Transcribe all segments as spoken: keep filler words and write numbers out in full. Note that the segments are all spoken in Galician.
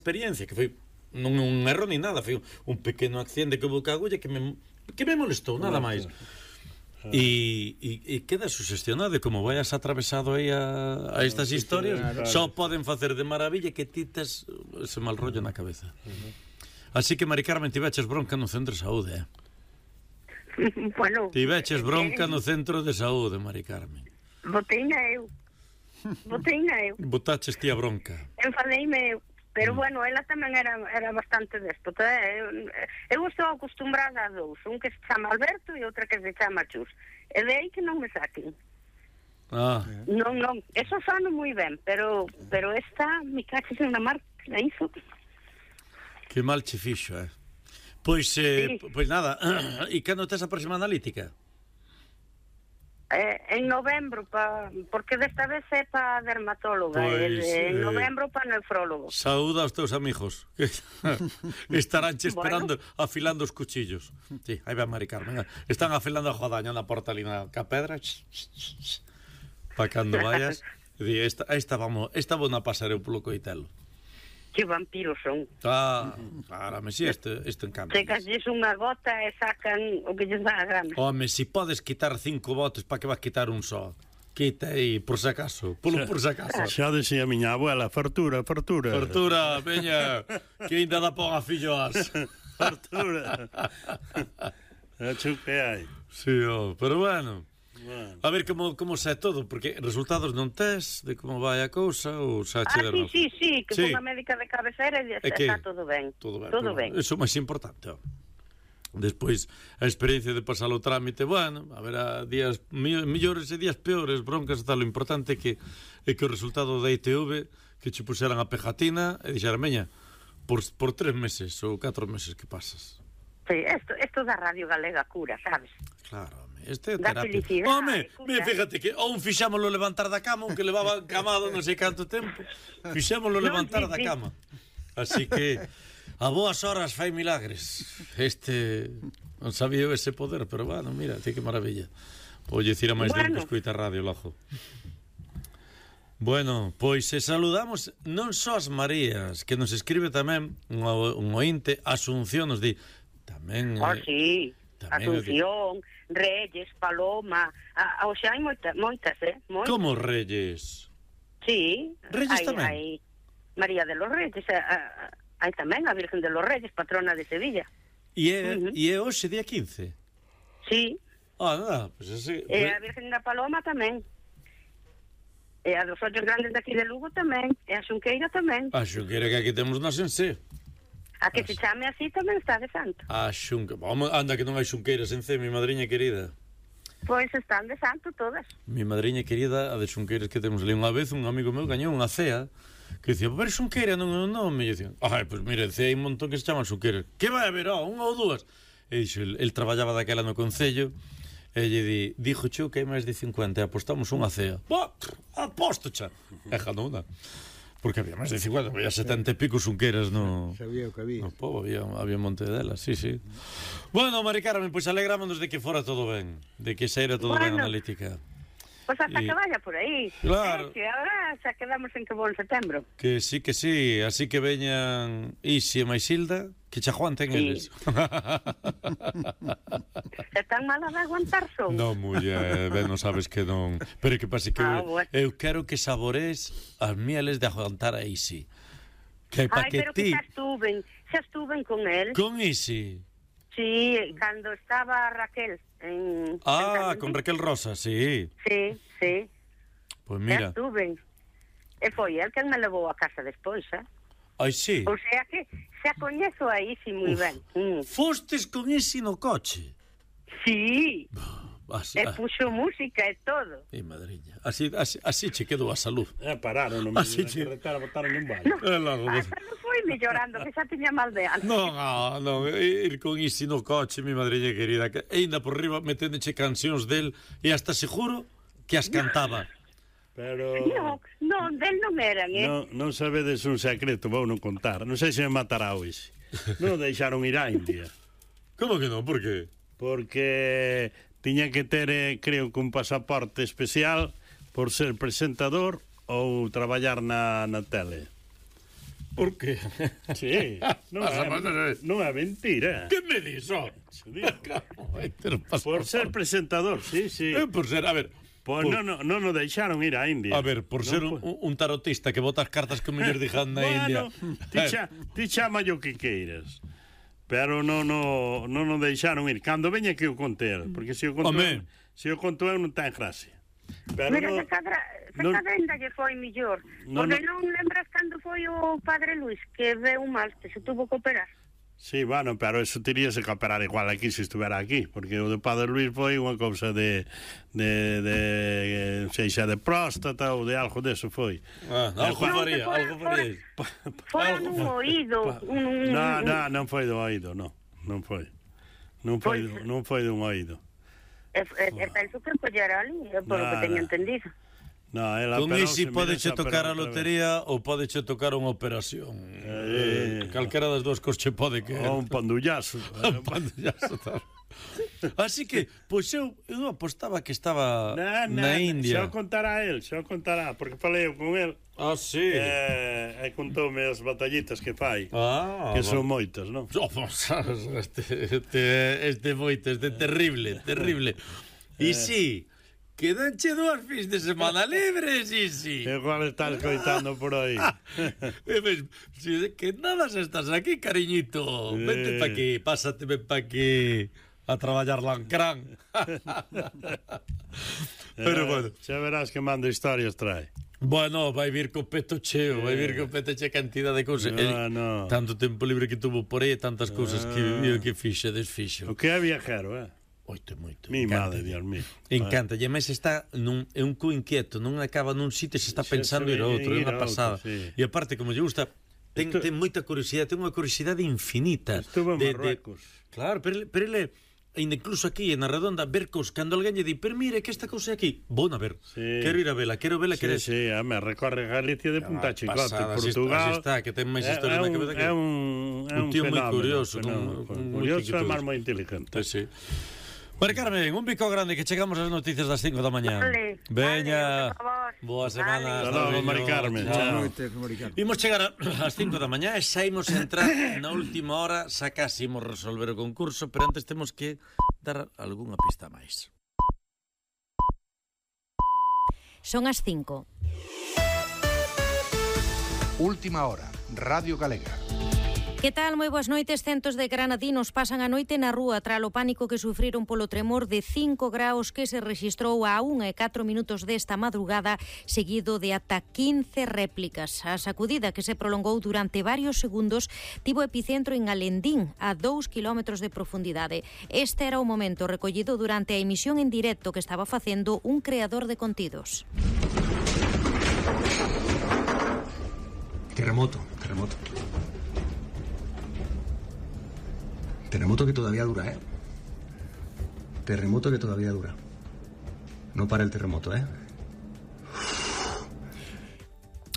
experiencia que foi non un erro ni nada, foi un pequeno accidente que houve ca agulla que me, que me molestou, nada máis. E, e, e queda sugestionado como vayas atravesado aí a, a estas historias, só poden facer de maravilla que ti tes ese mal rollo na cabeza. Así que, Mari Carmen, tiveches bronca no centro de saúde, eh? Bueno, tiveches bronca no centro de saúde, Mari Carmen. Boteina eu. Boteina eu. Botaches ti a bronca. Enfadeime eu. Pero, bueno, ela tamén era, era bastante déspota. Eu, eu estou acostumbrada a dous. Un que se chama Alberto e outra que se chama Chus. E de aí que non me saquen. Ah. Non, non. Eso sono moi ben, pero pero esta, mi caches en la marca, iso. Que mal che fixo, eh? Pois, eh, Sí. pois nada. E cando tes a próxima analítica? Eh, en novembro, pa, porque desta vez é para dermatóloga. Pois, eh, en eh, novembro para nefrólogo. Saúda aos teus amigos que estarán che esperando, bueno, afilando os cuchillos. Sí, aí va Mari Carmen. Están afilando a jodaña na porta ali na ca pedra. Para cando vayas, di, esta, esta vamos, esta vou na pasar eu polo coitelo. Que vampiros son. Ah, párame, si, este, este encanta. Chegasles unha gota e sacan o que lles dá a gana. Home, si podes quitar cinco botes, para que vas quitar un só? Quita aí, por si acaso, polo por si acaso. Xa decía a miña abuela, fartura, fartura. Fartura, veña, que ainda dá para filloas. Fartura. É que hai. Sí, oh, pero bueno. Bueno. A ver como, como se é todo, porque resultados non tes de como vai a cousa ou xa che Ah, sí, sí, sí, que sí. sí. Ponga médica de cabecera e É que está todo ben. Todo ben. Todo ben. ben. Eso é máis importante, ó. Despois, a experiencia de pasar o trámite, bueno, a ver, a días mellores e días peores, broncas e tal, o importante é que, é que o resultado da I T V, que che puseran a pegatina, e dixeran, meña, por, por tres meses ou catro meses que pasas. Sí, esto, esto da Radio Galega cura, sabes? Claro, home, este é Da terapia. felicidade, Home, cura. mira, fíjate que ou fixámoslo levantar da cama, un que levaba camado non sei canto tempo, fixámoslo Non, levantar sí, da sí. cama. Así que a boas horas fai milagres. Este non sabía eu ese poder, pero bueno, mira, tí que maravilla. Oye, dicir a máis bueno. Bueno. que escoita radio, lojo. Bueno, pois se saludamos non só as Marías, que nos escribe tamén un, un ointe, Asunción nos di tamén... Oh, eh, sí, tamén Asunción, Reyes, Paloma, a, a, o sea, hai moita, moitas, eh? Moitas. Como Reyes? Sí. Reyes hai, tamén? Hai María de los Reyes, a, a, hai tamén a Virgen de los Reyes, patrona de Sevilla. E é, Uh-huh. e é hoxe día quince? Sí, Ah, nada, pois pues ese... e a Virgen da Paloma tamén. E a dos ollos grandes daqui de Lugo tamén, e a Xunqueira tamén. A xunqueira que aquí temos na Sensé. A que se chame así tamén está de santo. A xunqueira... Vamos, anda que non hai xunqueiras en C, mi madriña querida. Pois están de santo todas. Mi madriña querida, a de xunqueiras que temos ali. Unha vez un amigo meu gañou unha cea que dicía, pero xunqueira non é un nome. E dicía, ai, pois mira, en C hai un montón que se chaman xunqueiras. Que vai haber, ó, unha ou dúas? E dixo, el, el traballaba daquela no Concello. E lle di, dixo chou que hai máis de cincuenta e apostamos unha cea. Bah, aposto, xa. E ganona. Porque había máis de cincuenta, había setenta e pico xunqueiras no... Sabía o que había. No pobo, había, había un monte delas, sí, sí. Bueno, Mari Carmen, pois pues alegrámonos de que fora todo ben, de que saíra todo Bueno. ben analítica. Pois hasta Y- que vaya por aí. Claro. Eh, que agora xa quedamos en que vou en setembro. Que sí, que sí, así que veñan Isi e Maisilda, que xa aguanten Sí. eles. Se tan mala de aguantar son. Non, muller, ben, non sabes que non. Pero que pase que Ah, eu, bueno. eu quero que sabores as mieles de aguantar a Isi. Que pa Ai, que pero ti, que xa estuven, xa estuven con él. con Isi. Sí, cando estaba Raquel en... Ah, en con Raquel Rosa, sí. Sí, sí, Pois xa mira, estuven. E foi el quen me levou a casa despois, eh? ai sí. O sea que xa coñezo aí, sí, moi ben. Mm. Fostes con Isi no coche. Sí, Así, e ah, puxo música e todo. e madriña. Así, así, así che quedou a salud. É, pararon no medio Así da che- carretera, botaron un vale. É logo. Hasta non foi mellorando, que xa tiña mal de alma. Non, ah, non, ir con Isi no coche, mi madriña querida, que ainda por riba meténdoche cancións del e hasta seguro que as cantaba. Pero... Non, non, del non eran, eh? Non, non sabedes un secreto, vou non contar. Non sei se me matará hoxe. Non o deixaron ir á India. Como que non? Por qué? Porque tiña que ter, eh, creo que un pasaporte especial por ser presentador ou traballar na, na tele. Por qué? Sí, non é, non é mentira. Que me dis, oh? Por ser presentador, sí, sí. Eh, por ser, a ver... Pois por... non no, no, no deixaron ir a India. A ver, por non ser po... un, un tarotista que bota as cartas que mellor dixan na India. Bueno, ti, cha, ti chama o que queiras. Pero non no, no, no deixaron ir. Cando veña que o conte el, porque se o conto eu, se o conto eu non ten gracia. Pero mira, no, se cadra, se non, cadenda lle foi millor. No, porque non, non lembras cando foi o padre Luis que veu mal, que se tuvo que operar. Sí, bueno, pero eso teríase que operar igual aquí se estuvera aquí, porque o de padre Luis foi unha cousa de de, de seixa de próstata ou de algo deso foi. Ah, algo faría, algo faría. Foi un oído, un No, no, non foi do oído, non. Non foi. Non foi, non foi dun oído. É, é, é penso que collera ali, é por o que teño entendido. No, ela con isi podeche tocar a lotería ou podeche tocar unha operación. Eh, eh, calquera das dúas cos che pode que... Ou un pandullazo. Un pandullazo, tal. Así que, pois eu, eu apostaba que estaba na, na, na India. Xa o contará el, xa o contará, porque falei eu con el. Ah, sí. Eh, e contoume as batallitas que fai. Ah, que son moitas, non? Oh, este, este, este moito, este terrible, terrible. E eh. sí, quedanche dúas fins de semana libres, sí, sí. Igual estás coitando por aí. Que nada se estás aquí, cariñito. Eh. Vente pa aquí, pásate ben pa aquí a traballar lancrán. Pero bueno. Xa verás que mando historias trae. Bueno, vai vir co peto cheo, vai vir co peto cheo cantidad de cousas. No, no. Tanto tempo libre que tuvo por aí, tantas cousas que viviu, que fixe, desfixo. O que é viajero, eh? Moito, moito. Mi madre, Dios mío. Encanta, e máis está nun, é un cu inquieto, non acaba nun sitio, se está pensando ir a outro, é unha pasada. Sí. E aparte, como lle gusta, ten, Esto... ten moita curiosidade, ten unha curiosidade infinita. Estuvo en Marruecos. De... Claro, pero, pero ele... E incluso aquí, en a redonda, ver cos, cando alguén lle di, pero mire, que esta cousa aquí, vou a ver, sí. Quero ir a vela, quero vela, sí, quero... Sí, a me recorre Galicia de punta a chicote, pasada, Portugal... Así está, que ten máis historia na cabeza que... É un, é un, un tío moi curioso, fenómeno, con, curioso e máis moi inteligente. Sí, sí. Mari Carmen, un bico grande que chegamos ás noticias das cinco da mañá. Vale, veña, vale, boa semana. Hasta logo, Mari Carmen. Chao. Imos chegar ás cinco da mañá e saímos a entrar na última hora, xa casi imos resolver o concurso, pero antes temos que dar algunha pista máis. Son as cinco. Última hora, Radio Galega. Que tal? Moi boas noites. Centos de granadinos pasan a noite na rúa tras o pánico que sufriron polo tremor de cinco graus que se rexistrou a unha e catro minutos desta madrugada, seguido de ata quince réplicas. A sacudida, que se prolongou durante varios segundos, tivo epicentro en Alendín, a dous kilómetros de profundidade. Este era o momento recollido durante a emisión en directo que estaba facendo un creador de contidos. Terremoto, terremoto. Terremoto que todavía dura, ¿eh? Terremoto que todavía dura. No para el terremoto, ¿eh?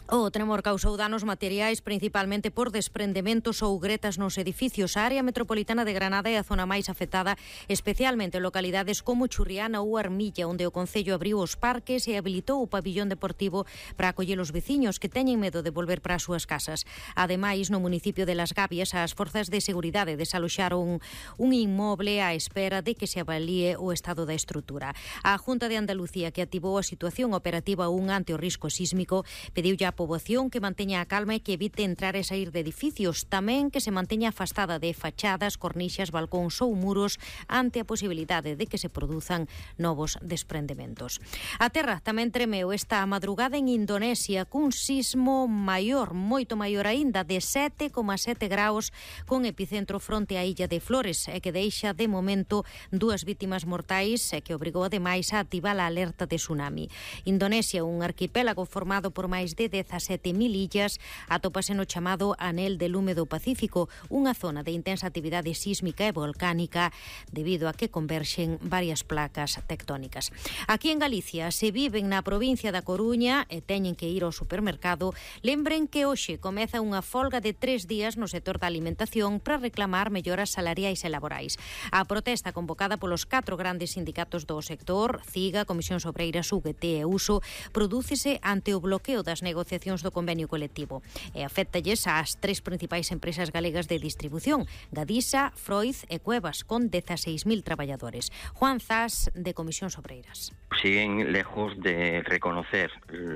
O tremor causou danos materiais principalmente por desprendementos ou gretas nos edificios. A área metropolitana de Granada é a zona máis afectada, especialmente en localidades como Churriana ou Armilla, onde o Concello abriu os parques e habilitou o pabillón deportivo para acoller os veciños que teñen medo de volver para as súas casas. Ademais, no municipio de Las Gavias, as forzas de seguridade desaloxaron un inmoble á espera de que se avalíe o estado da estrutura. A Junta de Andalucía, que activou a situación operativa un ante o risco sísmico, pediu ya a poboación que manteña a calma e que evite entrar e sair de edificios, tamén que se manteña afastada de fachadas, cornixas, balcóns ou muros ante a posibilidade de que se produzan novos desprendementos. A terra tamén tremeu esta madrugada en Indonesia cun sismo maior, moito maior aínda, de sete coma sete graus, con epicentro fronte á illa de Flores, e que deixa de momento dúas vítimas mortais e que obrigou ademais a activar a alerta de tsunami. Indonesia, un arquipélago formado por máis de dezasete mil illas, atópase no chamado Anel de Lume do Pacífico, unha zona de intensa actividade sísmica e volcánica debido a que converxen varias placas tectónicas. Aquí en Galicia se viven na provincia da Coruña e teñen que ir ao supermercado. Lembren que hoxe comeza unha folga de tres días no sector da alimentación para reclamar melloras salariais e laborais. A protesta convocada polos catro grandes sindicatos do sector, CIGA, Comisión Obreiras, U G T e Uso, prodúcese ante o bloqueo das negociacións negociacións do convenio colectivo. E aféctalles ás tres principais empresas galegas de distribución, Gadisa, Freud e Cuevas, con dezaseis mil traballadores. Juan Zas, de Comisións Obreiras. Siguen lejos de reconocer,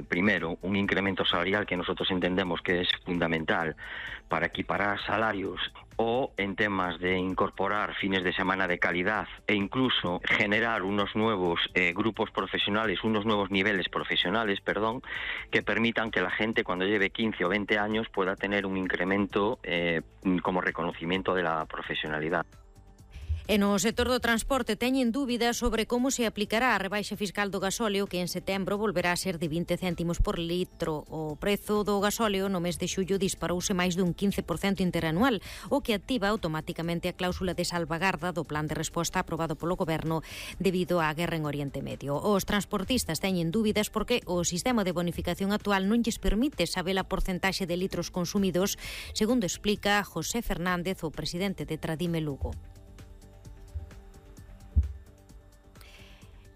primero, un incremento salarial que nosotros entendemos que es fundamental para equiparar salarios, o en temas de incorporar fines de semana de calidad e incluso generar unos nuevos eh, grupos profesionales, unos nuevos niveles profesionales, perdón, que permitan que la gente cuando lleve quince o veinte años pueda tener un incremento eh, como reconocimiento de la profesionalidad. E no sector do transporte teñen dúbidas sobre como se aplicará a rebaixa fiscal do gasóleo, que en setembro volverá a ser de vinte céntimos por litro. O prezo do gasóleo no mes de xullo disparouse máis dun quince por cento interanual, o que activa automáticamente a cláusula de salvagarda do plan de resposta aprobado polo Goberno debido á guerra en Oriente Medio. Os transportistas teñen dúbidas porque o sistema de bonificación actual non lles permite saber a porcentaxe de litros consumidos, segundo explica José Fernández, o presidente de Tradime Lugo.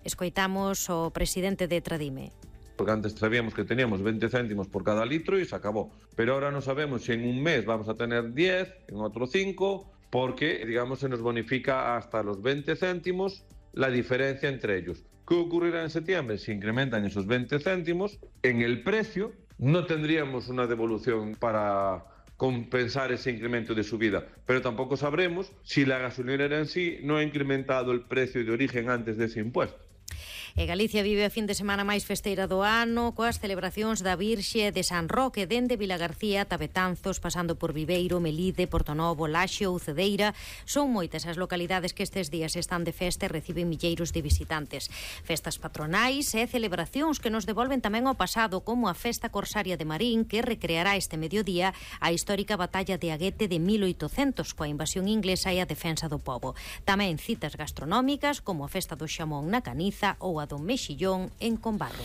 Escoitamos o presidente de Tradime. Porque antes sabíamos que teníamos veinte céntimos por cada litro y se acabó. Pero ahora no sabemos si en un mes vamos a tener diez, en otro cinco, porque, digamos, se nos bonifica hasta los veinte céntimos la diferencia entre ellos. ¿Qué ocurrirá en septiembre? Si incrementan esos veinte céntimos, en el precio no tendríamos una devolución para compensar ese incremento de subida, pero tampoco sabremos si la gasolinera en sí no ha incrementado el precio de origen antes de ese impuesto. E Galicia vive a fin de semana máis festeira do ano, coas celebracións da Virxe de San Roque, dende Vilagarcía, Tabetanzos, pasando por Viveiro, Melide, Portonovo, Laxo ou Cedeira. Son moitas as localidades que estes días están de festa e reciben milleiros de visitantes. Festas patronais e celebracións que nos devolven tamén ao pasado, como a Festa Corsaria de Marín, que recreará este mediodía a histórica batalla de Aguete de mil oitocentos, coa invasión inglesa e a defensa do pobo. Tamén citas gastronómicas, como a Festa do Xamón na Caniza ou a do Mexillón en Combarro.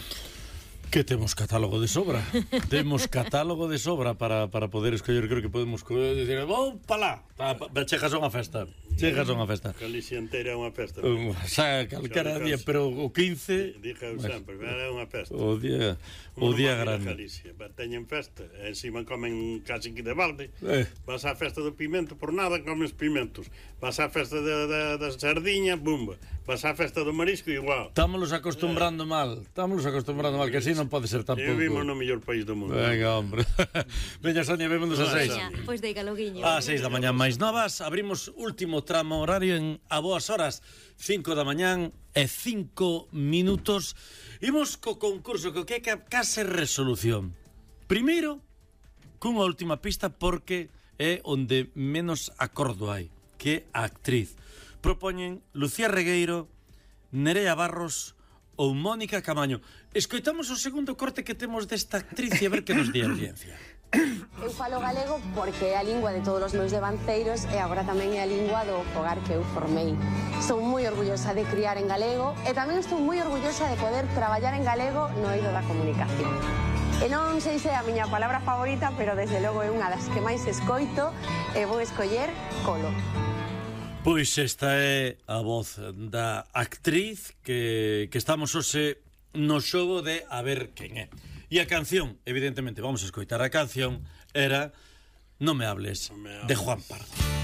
Que temos catálogo de sobra. Temos catálogo de sobra para, para poder escoller. Creo que podemos decir, vou pa lá, chegas a unha festa. Chegas a unha festa. Galicia entera é unha festa. Um, xa, calcara día, pero o quince... Dije eu sempre, é unha festa. O día, o día grande. Galicia, teñen festa, e encima comen casi que de balde. Eh. Vas á festa do pimento, por nada comes pimentos. Vas á festa da sardiña, bumba. Vas á festa do marisco, igual. Estámonos acostumbrando eh. mal, estámonos acostumbrando mal, que así non pode ser tampouco. Vivimos no mellor país do mundo. Venga, hombre. Veña, Sonia, vémonos a seis. Pois deiga loguiño. A seis da mañán máis novas, abrimos último tramo horario en a boas horas, cinco da mañán e cinco minutos. Imos co concurso que que é case resolución. Primeiro, cunha última pista porque é onde menos acordo hai, que a actriz. Propoñen Lucía Regueiro, Nerea Barros ou Mónica Camaño. Escoitamos o segundo corte que temos desta actriz e a ver que nos di a audiencia. Eu falo galego porque é a lingua de todos os meus devanceiros e agora tamén é a lingua do fogar que eu formei. Estou moi orgullosa de criar en galego e tamén estou moi orgullosa de poder traballar en galego no eido da comunicación. E non sei se é a miña palabra favorita, pero desde logo é unha das que máis escoito e vou escoller Colo. Pois esta é a voz da actriz que, que estamos hoxe no xogo de a ver quen é. E a canción, evidentemente, vamos a escoitar a canción, era Non me hables, de Juan Pardo.